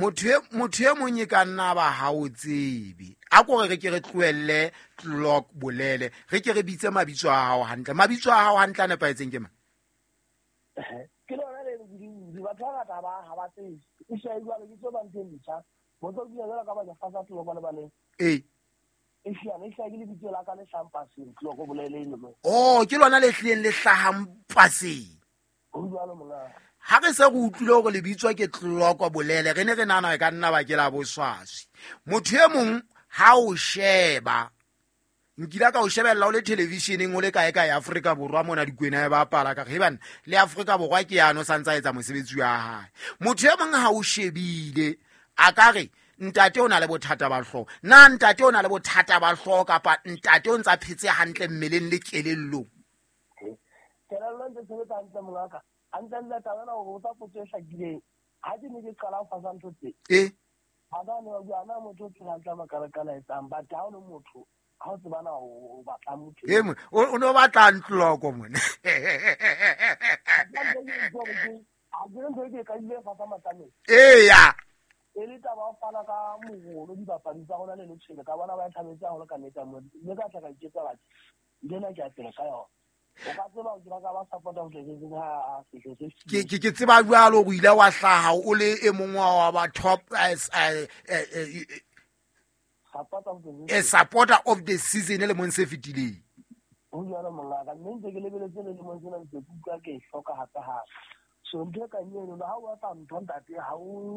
Motho e mong e ka nna ba ha o tsebe, a kore re ke re tlohelle Clock Bolele, re ke re bitse mabitso a hao hantle. Mabitso a hao hantle a nepahetseng ke mang? Ke lona le le batho ba ngata ha ba tsebe. E sia jwale ke tso ba ntho e ntjha. Motho o bile jwalo ka ba fasa tloko le baleng. E sia ne sia ke lebitso la ka le hlahang paseng, Tloko Bolele eno. Oh, ke lona le hlileng le hlahang paseng? Ho jwalo, monga. Ha re se re utlwile hore lebitso ke Tloko Bolele, re ne re nahana e ka nna ba ke la boswaswi. Motho e mong ha o sheba, nkile ka o shebella o le televisioneng, o le kae kae Afrika Borwa mona, Dikwena e bapala, ka re banna le Afrika Borwa ke yano sa ntsa etsa mosebetsi wa hae. Motho e mong ha o shebile a ka re ntate o na le bothata ba hlooho. Na ntate o na le bothata ba hlooho, kapa ntate o ntsa phetse hantle mmeleng le kelellong? Kelello ntse sebetsa hantle, mongaka. Hantle ntle, taba ena hore o tsa potso e hlakileng. Ha ke ne ke qala ho fasa ntho tse, ba ka ne ba bua na motho o phela hantle a makalakala etsang, but ha o le motho, ha o tsebana o batla motho. E mo o no batla ntloko mone. Ha ke ntho e ke e qadile fasa matlameng. E le taba ho fana ka moholo dibapadi tsa rona le letshwele ka bona ba e thabetse haholo ka nnete mo, mme ka tla ka iketsa batho ntho ke a pele ka yona. O ka tseba ke ka ba support-a ho tletseng ha sehlo se. Ke tseba jwalo o ile wa hlaha o le e mong wa ba top supporter of the supporter of the season le mong se fetileng. Ho jwalo, mongaka, mme ntse ke lebeletse le lemong sena, ntse ke utlwa ke e hloka hape hape. So ntho e kang eno, ha o batla ntho, ntate, ha o